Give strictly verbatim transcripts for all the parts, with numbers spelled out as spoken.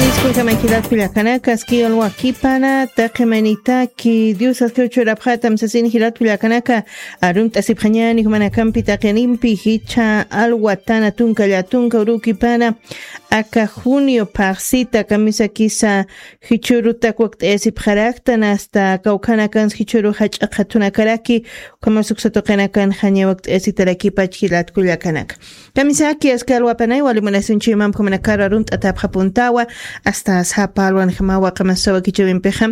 Disculpame, jilat kullakanaka, aski alwakipana, taqi maynitaki, Dios aski uchurapxatam sasin, jilat kullakanaka, arumt'asipxañani jumanakampi taqinimpi, jichha alwatana tunka llatunka urukipana, aka junio phaxsita kamisakisa, jichhurutak wakt'ayasipxaraktan, hasta kawkhanakans jichhuru jach'a qhatunakaraki, ukhamas uksa tuqinakan jaña wakt'ayasitarakipach jilat kullakanaka. Kamisaki, aski alwapanay, wali munasiñchïmampi jumanakaru arunt'atäpxapuntawa, hasta sapa alwanjamawa qamasawa kichawimpixa,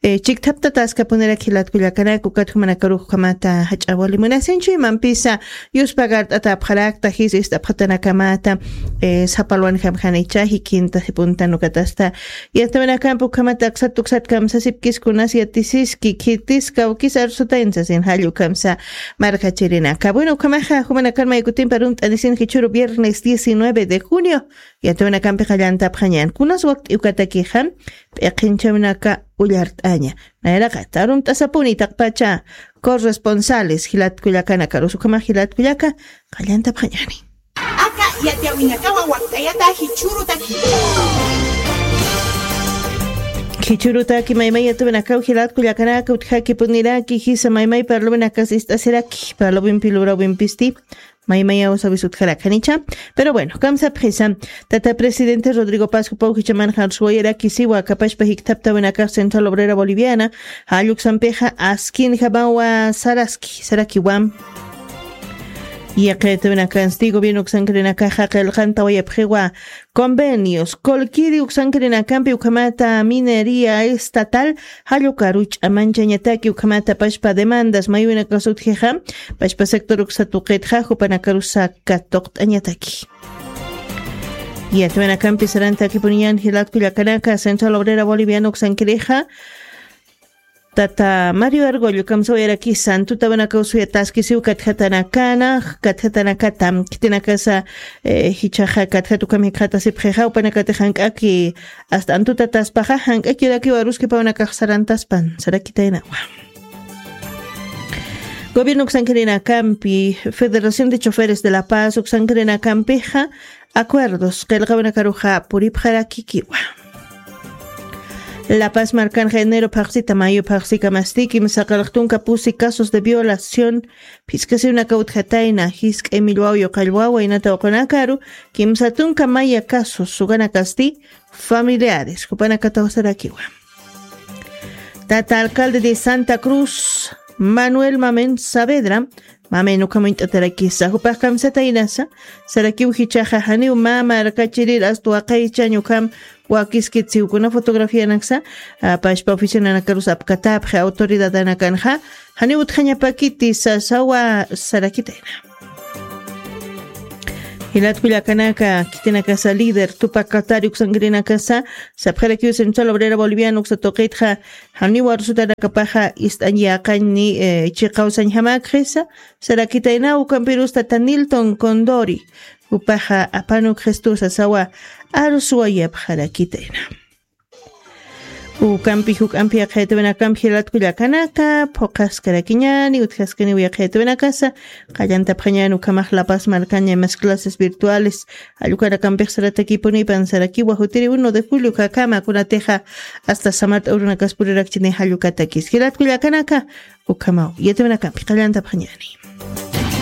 eh, chikthaptataskapuniraki jilat kullakanaka, ukat jumanakarux ukhamata jach'a wali munasiñchïmampisa, yuspagart'atäpxarakta, jis ist'apxatanakamata, eh, sapa alwanjam janicha, jikintasipuntan ukatasta, yatawinakampi ukhamata aksat uksat kamsasipkis kunas yatisiski, khitis kawkis arsutayn sasin jall ukhamsa, markachirinaka. Bueno, ukhamaxa, jumanakan maykutimpi arunt'anisin jichhuru viernes diecinueve de junio, yatawinakampi qallantapxañan. Kunas wakt'i ukatakixa, p'iqinchawinaka ullart'aña. Nayraqat, arunt'asapuni taqpacha corresponsales, jilat kullakanakarusa, ukhamax jilat kullaka, qallantapxañani. Aka yatiyawinakawa wakt'ayata jichhurutaki. Jichhurutaki maymay yatawinakaw jilat kullakanaka utjakipuniraki jisa maymay parluwinakas ist'asiraki, parluwimpi lurawimpisti, maymayaw sawis utjarakanicha. Pero bueno, kamsapxisa, tata presidente Rodrigo Paz jupaw jichhaman jarsuwayaraki siwa kapachpa jikthaptawinakax Central Obrera Boliviana, jall uksampixa askinjamawa saraski, sarakiwa. Yaqitawinakansti gobierno uksankirinakaxa qillqantawayapxiwa convenios, Colquiri uksankirinakampi ukhamata minería estatal, jall ukaru ch'amanchañataki ukhamata pachpa demandas maywinakas utjixa, pachpa sector uksa tuqitxa, jupanakarusa katuqt'añataki. Yatawinakampi sarantakipuniñan jilat kullakanaka, Central Obrera Boliviana uksankirixa, tata Mario Argollo kamsawayarakisa, antutawinakaw suyataskisiw katjatanakana, katjatanakata, khitinakasa, eh, jichhaxa katjat ukham jikxatasipxixa, jupanakatix jank'aki, hasta antutataspaxa, jank'akirakiw aruskipawinakax sarantaspan, sarakitaynawa. Gobierno uksankirinakampi, Federación de Choferes de La Paz uksankirinakampixa, acuerdos, qillqawinakaruxa puripxarakikiwa. La Paz markanxa enero phaxsita mayo phaxsikamasti kimsa qillqtunka pusi casos de violación, phiskasiwinakaw utjatayna, jisk'ay millwaw yuqallwaw waynata uqunakaru, kimsa tunka maya casos, ukanakasti familiares, jupanakataw sarakiwa. Tata alcalde de Santa Cruz, Manuel Mamen Saavedra, Mamen ukham uñt'atarakisa, jupax kamsataynasa, sarakiw jichhaxa janiw mä markachirir, hasta waqaychañ ukham wakiskitsiw kuna fotografianaksa, ah, pachpa oficinanakarus apkatäpxi autoridadanakanxa, janiw utjañapakiti sasawa sarakitayna. Jilat kullakanaka, khitinakasa líder Tupac Katari uksankirinakasa, sapxarakiw Central Obrera Boliviana uksa tuqitxa, janiw arsutanakapaxa ist'añ yäqañ ni, eh, chiqaw sañjamäkxisa, sarakitayna, ukampirus tata Nilton Condori, jupaxa apanukxistu sasawa arsuwayapxarakitayna. Ukampi juk'ampi yaqhaytawinakampi jilat kullakanaka, phuqhaskarakiñäni, utjaskaniw yaqhaytawinakasa, qallantapxañäni ukhamax La Paz markaña imas clases virtuales, jall ukanakampix saratakipunipan, sarakiwa jutiri uno de julio ukakama, kunatixa hasta samart'a urunakaspurirakchini jall ukatakis. Jilat kullakanaka, ukhamaw yatawinakampi qallantapxañäni.